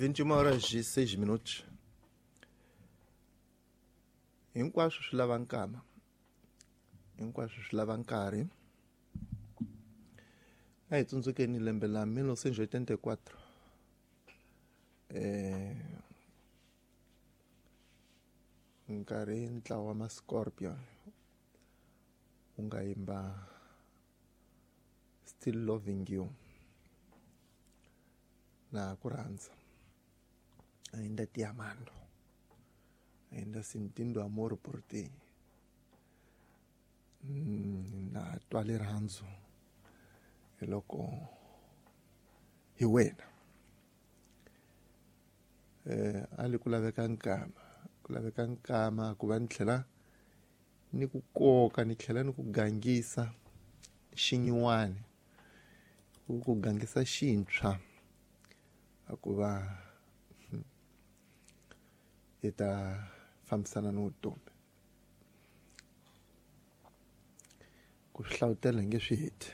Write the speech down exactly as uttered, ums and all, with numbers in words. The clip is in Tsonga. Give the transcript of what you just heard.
vinte e uma horas e seis minutos. Hinkwaswo swi lava nkama, hinkwaswo swi lava nkarhi. A hi tsundzukeni lembe la mil novecentos e oitenta e quatro, eh nkarhi ntlawa wa ma-Scorpion wu nga yimba Still Loving You, na ku rhandza, ainda te amando, ainda sentindo amor por ti, na twa rirhandzu hi loko hi wena. Eh a li ku laveka nkama, ku laveka nkama ku va ni tlhela ni ku koka, ni tlhela ni ku gangisa xinyiwani, ku ku gangisa xintshwa, a ku va hi ta fambisana ni vutomi. Ku swi hlavutela hi nge swi heti.